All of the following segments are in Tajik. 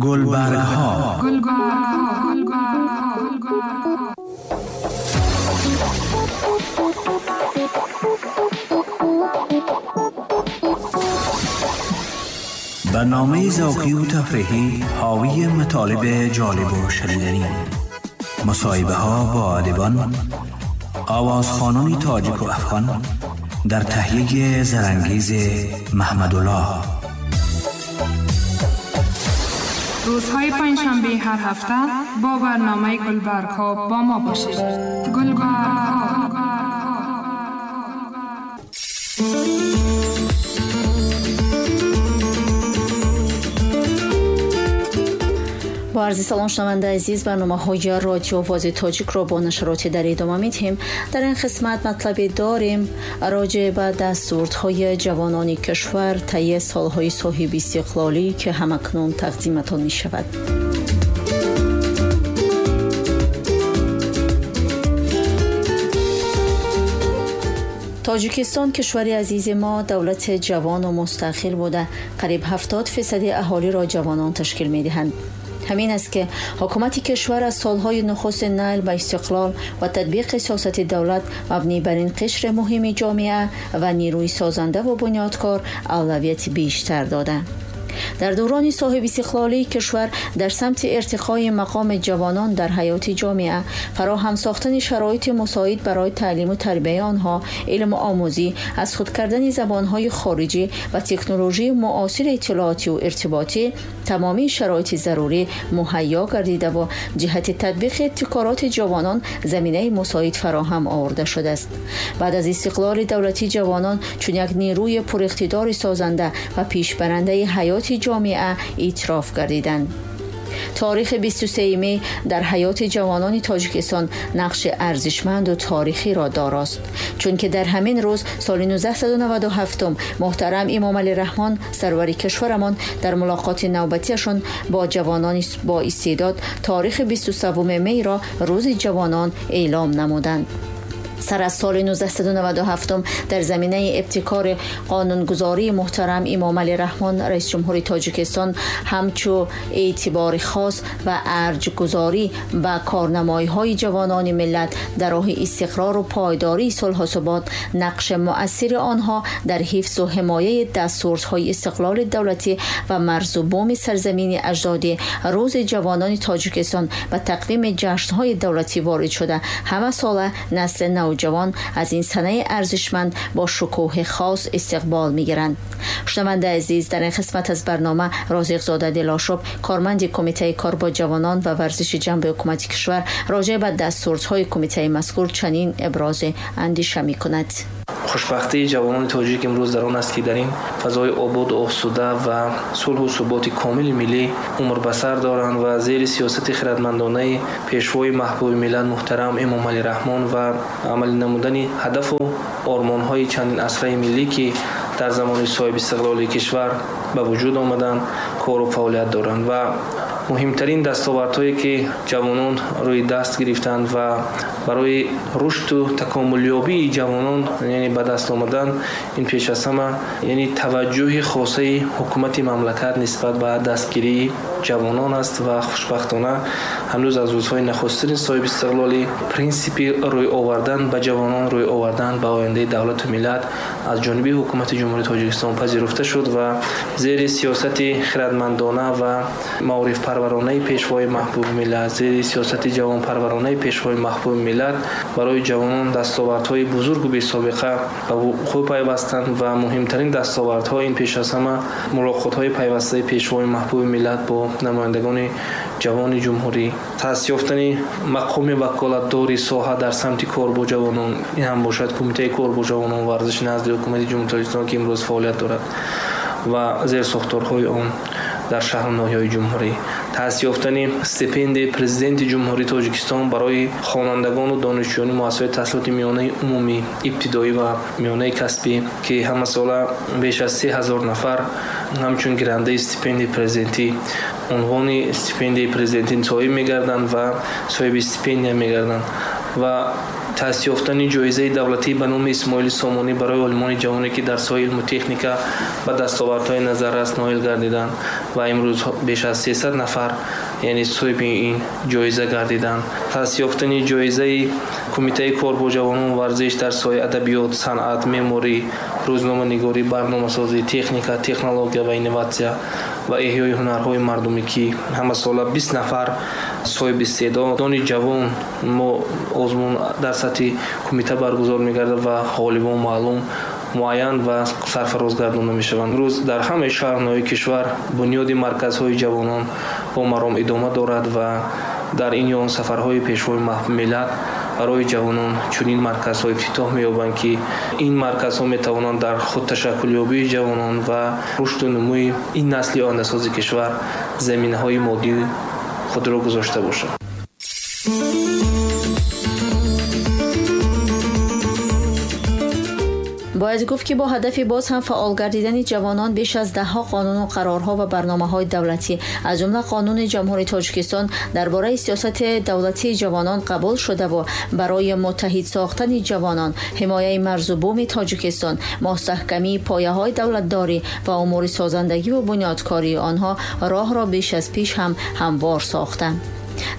گلبرگ‌ها. برنامه ذوقی و تفریحی حاوی مطالب جالب و شنیدنی، مصاحبه ها با ادیبان، آوازخوانان تاجیک و افغان در تهیه زرنگیز محمدالله. روزهای پنجشنبه هر هفته با برنامه گلبرگ‌ها با ما باشید. گلبرگ‌ها. با عرض سلام شنونده عزیز، برنامه‌های رادیو آواز تاجیک را با نشرات در ادامه می‌دهیم. در این قسمت مطلبی داریم راجع به دستاوردهای جوانان کشور طی سالهای صاحب استقلالی که همکنون تقدیمتان می‌شود. تاجیکستان کشور عزیز ما دولت جوان و مستقل بوده. قریب 70% اهالی را جوانان تشکیل می‌دهند. همین است که حکومت کشور از سالهای نخست نیل به استقلال و تطبیق سیاست دولت مبنی بر این قشر مهم جامعه و نیروی سازنده و بنیادکار اولویت بیشتر داده. در دوران صاحب استقلالی کشور در سمت ارتقای مقام جوانان در حیات جامعه، فراهم ساختن شرایط مساعد برای تعلیم و تربیه آنها، علم و آموزی، از خود کردن زبانهای خارجی و تکنولوژی معاصر اطلاعاتی و ارتباطی، تمامی شرایط ضروری مهیا گردیده و جهت تطبیق ابتکارات جوانان زمینه مساعد فراهم آورده شده است. بعد از استقلال دولتی، جوانان چون یک نیروی پراقتدار سازنده و پیشبرنده حیات جامعه اعتراف گردیدند. تاریخ 23 می در حیات جوانان تاجیکستان نقش ارزشمند و تاریخی را داراست، چون که در همین روز سال 1997 محترم امام علی رحمان سرور کشورمان در ملاقات نوبتیشان با جوانان با استعداد تاریخ 23 می را روز جوانان اعلام نمودند. سر از سال 1997 در زمینه ابتکار قانونگذاری محترم امام علی رحمان رئیس جمهوری تاجیکستان همچو اعتبار خاص و ارجگذاری به کارنمایی‌های جوانان ملت در راه استقرار و پایداری صلح و ثبات، نقش مؤثر آنها در حفظ و حمایه دستاوردهای استقلال دولتی و مرز و بوم سرزمین اجدادی، روز جوانان تاجیکستان و تقویم جشن‌های دولتی وارد شده. همه ساله نسل نوجوان از این سنه ارزشمند با شکوه خاص استقبال میگیرند. شنونده عزیز، در این قسمت از برنامه رازقزاده دلاشب، کارمند کمیته کار با جوانان و ورزش جنب حکومت کشور، راجع به دستاوردهای کمیته مذکور چنین ابراز اندیشه میکند. خوشبختی جوانان تاجیک امروز در آن است که در این فضای آباد و آسوده و صلح و ثبات کامل ملی عمر به سر دارند و زیر سیاست خردمندانه پیشوای محبوب ملت محترم امام علی رحمان و عمل نمودن هدف و آرمان‌های چندین عصره ملی که در زمان صاحب استقلال کشور به وجود آمدند کار و فعالیت دارند و مهمترین دستاوردهایی که جوانان روی دست گرفتند و برای رشد و تکاملیابی جوانان یعنی به دست آمدن، این پیش از همه یعنی توجه خاصه حکومت مملکت نسبت به دستگیری جوانان است و خوشبختانه هنوز از روزهای نخستین صاحب استقلالی پرینسیپ روی آوردن به جوانان، روی آوردن به آینده دولت و ملت از جانب حکومت جمهوری تاجیکستان پذیرفته شد و زیر سیاست خردمندانه و معارف پرورانه پیشوای محبوب ملت، زیر سیاست جوان پرورانه پیشوای محبوب ملت برای جوانان دستاوردهای بزرگ و بی سابقه به وقوع پیوستند و مهمترین دستاوردها این پیش از همه ملاقات‌های پیوسته پیشوای محبوب ملت با نمایندگان جوان جمهوری، تأسیس یافتن مقام وکالتدار ساحه در سمت کار با جوانان، این هم باشد کمیته کار با جوانان ورزش نزد حکومت جمهوری تاجیکستان که امروز فعالیت دارد و زیر ساختارهای آن در شهر و ناحیه‌های جمهوری، تأسیس یافتن استیپند پرزیدنت جمهوری تاجیکستان برای خوانندگان و دانشجویان مؤسسات تحصیلات میانه عمومی، ابتدایی و میانه کسبی که همه ساله بیش از 3000 نفر همچون گیرنده استیپند پرزیدنتی عنوان استیپند پرزیدنتی صاحب می‌گردند و صاحب استیپند می‌گردند و Таъсис ёфтани ҷоизаи давлатӣ ба номи Исмоили Сомонӣ барои олимони ҷавоне, ки дар соҳаи илму техника ба дастовардҳои назаррас ноил гардиданд ва имрӯз беш аз 300 нафар, яъне соҳиби ин ҷоиза гардиданд. Таъсис ёфтани ҷоизаи Кумитаи кор бо ҷавонон варзиш дар соҳаи адабиёт, санъат, меъморӣ, рӯзноманигорӣ, барномасозӣ, техника, технология ва инноватсия ва эҳёи ҳунарҳои мардумӣ, ки ҳамасола 20 нафар соҳиби истеъдодони ҷавон мо озмун дар сатҳи кумита баргузор мегардад ва ғолибон маълум, муайян ва сарфароз гардонда мешаванд. Имрӯз дар ҳамаи шаҳрҳои кишвар бунёди марказҳои ҷавонон бо маром идома дорад ва дар ин ё он сафарҳои пешвои миллат барои ҷавонон чунин марказҳо ифтитоҳ меёбанд, ки ин марказҳо метавонанд дар худташаккулёбии ҷавонон ва рушду нумӯи ин насли ояндасози кишвар заминаҳои моддии худро гузошта бошанд. Бояд гуфт, ки бо ҳадафи боз ҳам фаъол гардидани ҷавонон беш аз даҳҳо қонуну қарорҳо ва барномаҳои давлатӣ, аз ҷумла Қонуни Ҷумҳурии Тоҷикистон дар бораи сиёсати давлатии ҷавонон қабул шудаву барои муттаҳид сохтани ҷавонон, ҳимояи марзу буми Тоҷикистон, мустаҳкамии пояҳои давлатдорӣ ва умури созандагиву бунёдкории онҳо роҳро беш аз пеш ҳам ҳамвор сохтанд.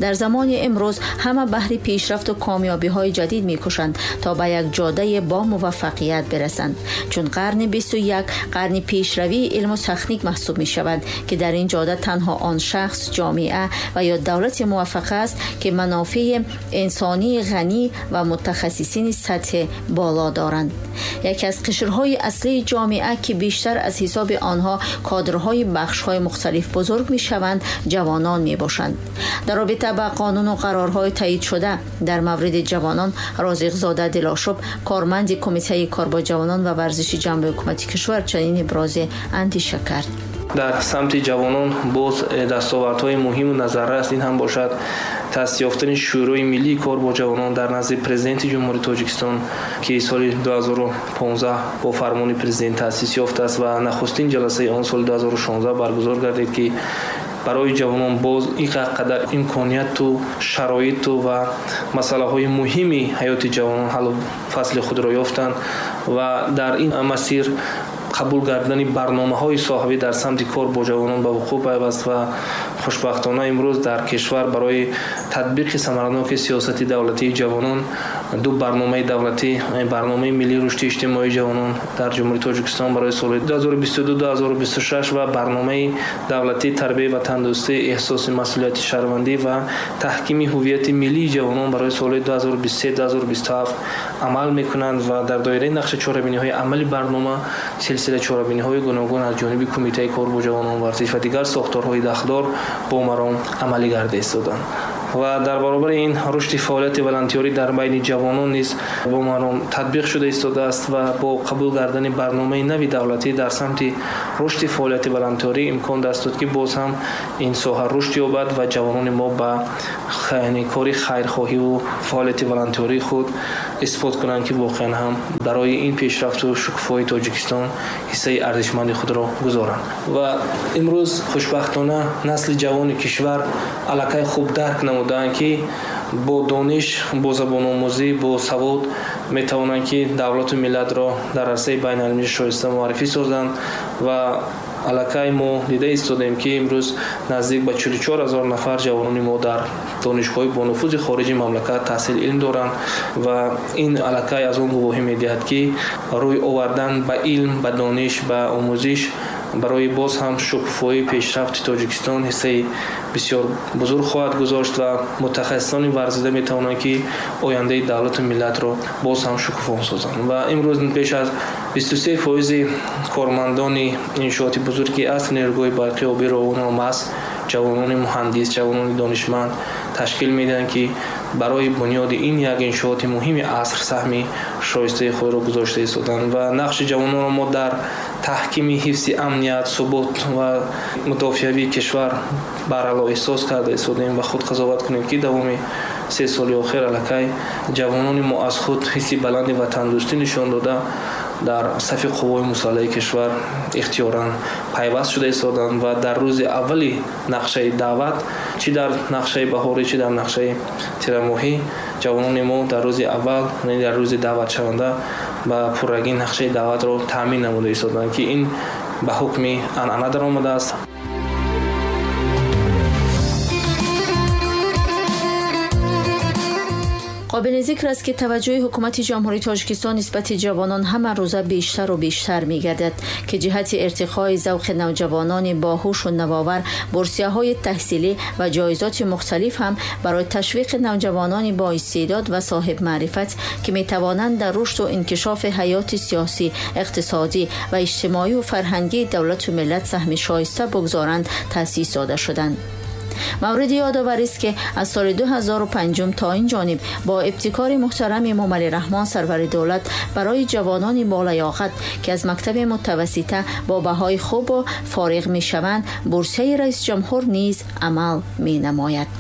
Дар замони имрӯз ҳама баҳри пешрафту комёбиҳои ҷадид мекӯшанд то ба як ҷодаи бо муваффақият бирасанд. Чун қарни 21 қарни пешравии илму техник маҳсуб мешавад, ки дар ин ҷода танҳо он шахс, ҷомеа ва ё давлати муваффақ аст, ки манофеи инсонии ғанӣ ва мутахассисини сатҳи боло доранд. Яке аз қишрҳои аслии ҷомеа, ки бештар аз ҳисоби онҳо кадрҳои бахшҳои мухталиф бузург мешаванд, ҷавонон мебошанд. Дар робита ба қонуну қарорҳои таъйид шуда дар мавриди ҷавонон, Розиқзода Дилошуб, корманди Кумитаи кор бо ҷавонон ва варзиши ҷанби ҳукумати кишвар, чунин ибрози андеша кард. Дар самти ҷавонон боз дастовардҳои муҳиму назаррас ин ҳам бошад таъсис ёфтани Шӯрои миллии кор бо ҷавонон дар назди Президенти Ҷумҳурии Тоҷикистон, ки соли 2015 бо фармони президент таъсис ёфтааст ва нахустин ҷаласаи он соли 2016 баргузор гардид, ки барои ҷавонон боз ин қадар имконияту шароиту ва масъалаҳои муҳими ҳаёти ҷавонон ҳаллу фасли худро ёфтанд ва дар ин масир қабул гардидани барномаҳои соҳавӣ дар самти кор бо ҷавонон ба вуқӯъ пайваст ва хушбахтона имрӯз дар кишвар барои татбиқи самараноки сиёсати давлатии ҷавонон ду барномаи давлатӣ, барномаи миллии рушди иҷтимоии ҷавонон дар Ҷумҳурии Тоҷикистон барои соли 2022-2026 ва барномаи давлатии тарбияи ватандӯстӣ, эҳсоси масъулияти шаҳрвандӣ ва таҳкими ҳуввияти миллии ҷавонон барои соли 2023-2027 амал мекунанд ва дар доираи нақши чорабиниҳои амали барнома силсила чорабиниҳои гуногун аз ҷониби Кумитаи кор бо ҷавонон, варзиш ва дигар сохторҳои дахлдор бо маром амалӣ гарда истоданд. Ва дар баробари ин рушди фаъолияти волонтёрӣ дар байни ҷавонон низ бо маром татбиқ шуда истодааст ва бо қабул кардани барномаи нави давлатӣ дар самти рушди фаъолияти волонтёрӣ имкон даст дод, ки боз ҳам ин соҳа рушд ёбад ва ҷавонони мо ба кори хайрхоҳиву фаъолияти волонтёрии худ исбот кунанд, ки воқеан ҳам барои ин пешрафту шукуфоии Тоҷикистон ҳиссаи арзишманди худро гузоранд. Ва имрӯз хушбахтона насли ҷавони кишвар аллакай хуб дарк намуданд, ки бо дониш, бо забономӯзӣ, бо савод метавонанд, ки давлату миллатро дар арсаи байналмилалӣ шоиста муаррифӣ созанд ва аллакай мо дида истодем, ки имрӯз наздик ба 44 ҳазор нафар ҷавонони мо дар донишгоҳҳои бонуфузи хориҷи мамлакат таҳсили илм доранд ва ин аллакай аз он гувоҳӣ медиҳад, ки рӯй овардан ба илм, ба дониш, ба омӯзиш барои боз ҳам шукуфоии пешрафти Тоҷикистон ҳиссаи бисёр бузург хоҳад гузошт ва мутахассисони варзида метавонанд, ки ояндаи давлату миллатро боз ҳам шукуфон созанд. Ва имрӯз беш аз 23% кормандони иншооти бузурги аср нерӯгоҳи барқи обӣ Роғун маҳз ҷавонони муҳандис, ҷавонони донишманд ташкил медиҳанд, ки барои бунёди ин як иншооти муҳими аср саҳми шоистаи худро гузошта истоданд. Ва нақши ҷавононро мо дар таҳкими ҳифзи амният, субот ва мудофиавии кишвар барало эҳсос карда истодем ва худ қазоват кунем, ки давоми 3 соли охир аллакай ҷавонони мо аз худ ҳисси баланди ватандӯстӣ нишон дода, Дар сафи қувваҳои мусаллаҳи кишвар ихтиёран пайваст шуда истоданд ва дар рӯзи аввали нақшаи даъват, чӣ дар нақшаи баҳорӣ, чӣ дар нақшаи тирамоҳӣ, ҷавонони мо дар рӯзи аввал, яъне дар рӯзи даъватшаванда ба пуррагӣ нақшаи даъватро таъмин намуда истоданд, ки ин ба ҳукми анъана даромадааст. Қобили зикр аст, ки таваҷҷӯҳи ҳукумати Ҷумҳурии Тоҷикистон нисбати ҷавонон ҳама рӯза бештару бештар мегардад, ки ҷиҳати иртиқои завқи навҷавонони боҳушу навовар бурсияҳои таҳсилӣ ва ҷоизоти мухталиф ҳам барои ташвиқи навҷавонони боистеъдод ва соҳибмаърифат, ки метавонанд дар рушду инкишофи ҳаёти сиёсӣ, иқтисодӣ ва иҷтимоию фарҳангии давлату миллат саҳми шоиста бигзоранд, таъсис дода шуданд. Мавриди ёдоварист, ки аз соли 2005 то ин ҷониб бо ибтикори муҳтарами Эмомалӣ Раҳмон, сарвари давлат, барои ҷавонони болаёқат, ки аз мактаби мутавассита бо баҳои хубу фориғ мешаванд, бурсияи раисҷумҳур низ амал менамояд.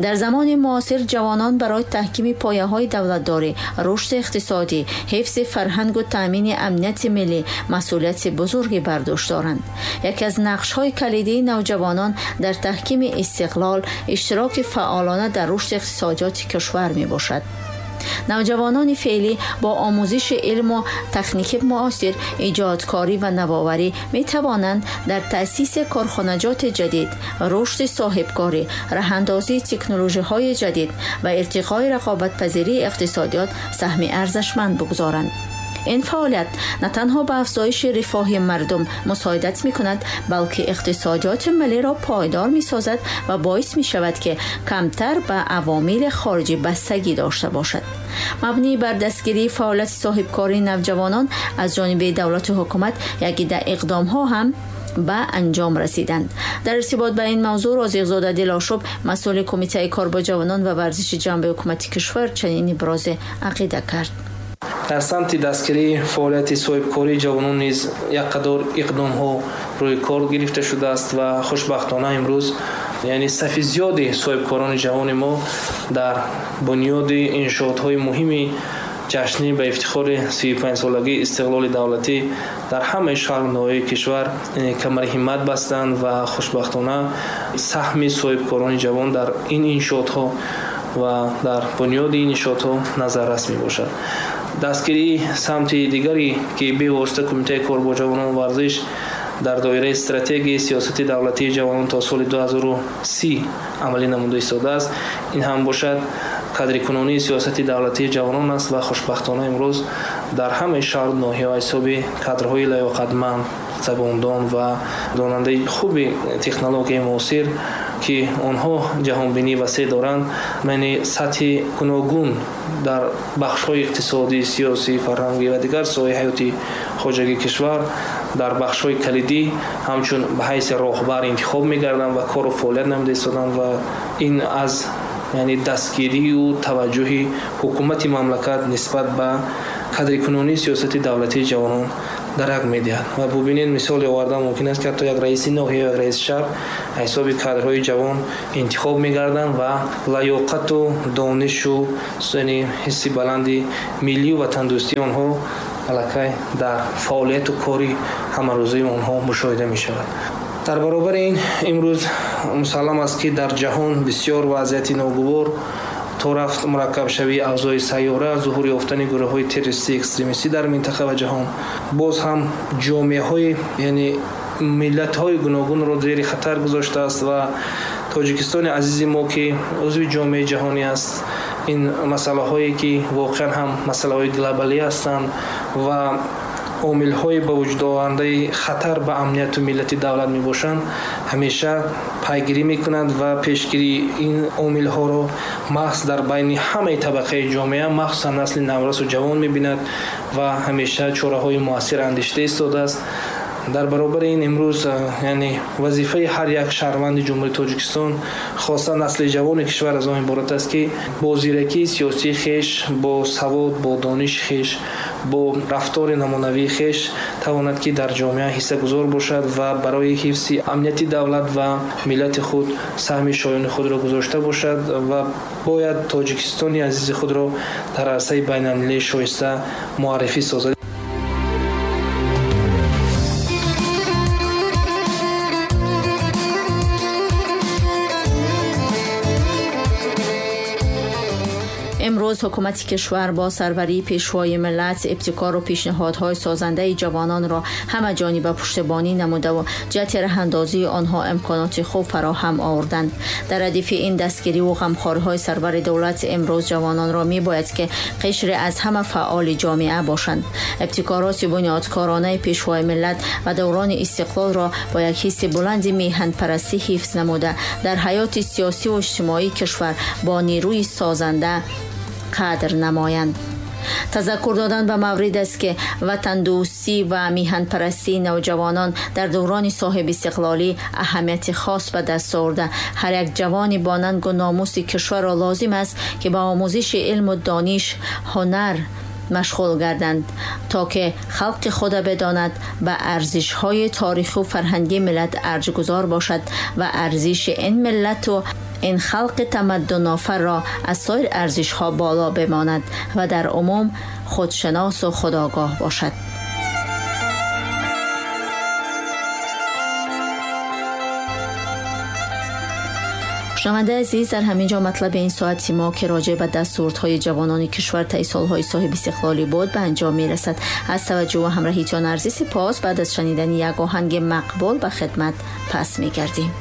Дар замони муосир ҷавонон барои таҳкими пояҳои давлатдорӣ, рушди иқтисодӣ, ҳифзи фарҳангу таъмини амнияти миллӣ масъулияти бузурге бар дӯш доранд. Яке аз нақшҳои калидии навҷавонон дар таҳкими истиқлол иштироки фаъолона дар рушди иқтисодиёти кишвар мебошад. Навҷавонони феълӣ бо омӯзиши илму техники муосир, иҷодкорӣ ва навоварӣ метавонанд дар таъсиси корхонаҷоти ҷадид, рушди соҳибкорӣ, раҳандозии технологияҳои ҷадид ва иртиқои рақобатпазирии иқтисодиёт саҳми арзашманд бигузоранд. Ин фаъолият на танҳо ба афзоиши рифоҳи мардум мусоидат мекунад, балки иқтисодиёти миллиро пойдор месозад ва боис мешавад, ки камтар ба авомили хориҷӣ бастагӣ дошта бошад. Мабнӣ бар дастгирии фаъолияти соҳибкории навҷавонон аз ҷониби давлату ҳукумат якида иқдомҳо ҳам ба анҷом расиданд. Дар иртибот ба ин мавзӯъ Розиқзода Дилошуб, масъули Кумитаи кор бо ҷавонон ва варзиши ҷанби ҳукумати кишвар, чунин ибрози ақида кард. Дар самти дастгирии фаъолияти соҳибкории ҷавонон низ як қадор иқдомҳо рӯи кор гирифта шудааст ва хушбахтона имрӯз, яъне сафи зиёди соҳибкорони ҷавони мо дар бунёди иншоотҳои муҳими ҷашнӣ ба ифтихори 35-солагии истиқлоли давлатӣ дар ҳамаи шаҳру ноҳияи кишвар камари ҳиммат бастанд ва хушбахтона саҳми соҳибкорони ҷавон дар ин иншоотҳо ва дар бунёди ин иншоотҳо назаррас мебошад. Дастгирии самти дигаре, ки бевосита Кумитаи кор бо ҷавонон ва варзиш дар доираи стратегияи сиёсати давлатии ҷавонон то соли 2030 амалӣ намуда истодааст, ин ҳам бошад қадрикунонии сиёсати давлатии ҷавонон аст ва хушбахтона имрӯз дар ҳамаи шаҳру ноҳияҳо ҳисоби кадрҳои лаёқатманд, забондон ва донандаи хуби технологияи муосир, ки онҳо ҷаҳонбинӣ васеъ доранд, яъне сатҳи гуногун дар бахшҳои иқтисодӣ, сиёсӣ, фарҳангӣ ва дигар соҳаи ҳаёти хоҷагии кишвар дар бахшҳои калидӣ ҳамчун ба ҳайси роҳбар интихоб мегарданд ва кору фаъолият намуда истоданд ва ин аз, яъне, дастгирию таваҷҷӯҳи ҳукумати мамлакат нисбат ба қадрикунонии сиёсати давлатии ҷавонон дарак медиҳад. Ва бубинед, мисоле овардан мумкин аст, ки ҳатто як раиси ноҳия, як раиси шаҳр ҳисоби кадрҳои ҷавон интихоб мегарданд ва лаёқату донишу, яъне ҳисси баланди миллию ватандӯстии онҳо аллакай дар фаъолияту кори ҳамарӯзаи онҳо мушоҳида мешавад. Дар баробари ин имрӯз мусаллам аст, ки дар ҷаҳон бисёр вазъияти ногувор то рафт мураккабшавии авзои сайёра, зуҳур ёфтани гурӯҳҳои террористӣ, экстремистӣ дар минтақа ва ҷаҳон боз ҳам ҷомеаҳои, яъне миллатҳои гуногунро зери хатар гузоштааст ва Тоҷикистони азизи мо, ки узви ҷомеаи ҷаҳонӣ аст, ин масъалаҳое, ки воқеан ҳам масъалаҳои глобалӣ ҳастанд ва омилҳои ба вуҷуд овардаи хатар ба амнияту миллати давлат мебошанд, ҳамеша пайгирӣ мекунанд ва пешгирии ин омилҳоро маҳз дар байни ҳамаи табақаи ҷомеа, махсусан насли наврасу ҷавон мебинад ва ҳамеша чораҳои муассир андешида истодааст. Дар баробари ин имрӯз, яъне вазифаи ҳар як шаҳрванди Ҷумҳурии Тоҷикистон, хоса насли ҷавони кишвар, аз он иборат аст, ки бо зиракии сиёсии хеш, бо савод, бо дониши хеш, бо рафтори намунавии хеш тавонад, ки дар ҷомеа ҳиссагузор бошад ва барои ҳифзи амнияти давлат ва миллати худ саҳми шоёни худро гузошта бошад ва бояд Тоҷикистони азизи худро дар арсаи байналмилалии шоиста муаррифӣ созад. امروز حکومت کشور با سروری پیشوای ملت ابتکار و پیشنهادهای سازنده جوانان را همه جانبه پشتیبانی نموده و جهت رهاندازی آنها امکانات خوب فراهم آوردند. در ردیف این دستگیری و غمخواری‌های سرور دولت امروز جوانان را می‌باید که قشر از همه فعال جامعه باشند. ابتکارات بنیادکارانه پیشوای ملت و دوران استقلال را با یک حس بلند میهن پرستی حفظ نموده در حیات سیاسی و اجتماعی کشور با نیروی سازنده قدر نمایند. تذکر دادن به مورد است که وطن دوستی و میهن پرستی نوجوانان در دوران صاحب استقلالی اهمیت خاص به دست آورده. هر یک جوانی با ننگ و ناموس کشور را لازم است که به آموزش علم و دانش، هنر مشغول گردند تا که خلق خود بداند به ارزش‌های تاریخی و فرهنگی ملت ارجگذار باشد و ارزش این ملت و این خلق تمدن آفر را از سایر ارزش‌ها بالا بماند و در عموم خودشناس و خودآگاه باشد. شنونده عزیز، در همین جا مطلب این ساعت ما که راجع به دستاوردهای جوانان کشور طی سالهای صاحب استقلالی بود به انجام میرسد. از توجه و همراهیتان عرض سپاس. بعد از شنیدن یک آهنگ مقبول به خدمت پس میگردیم.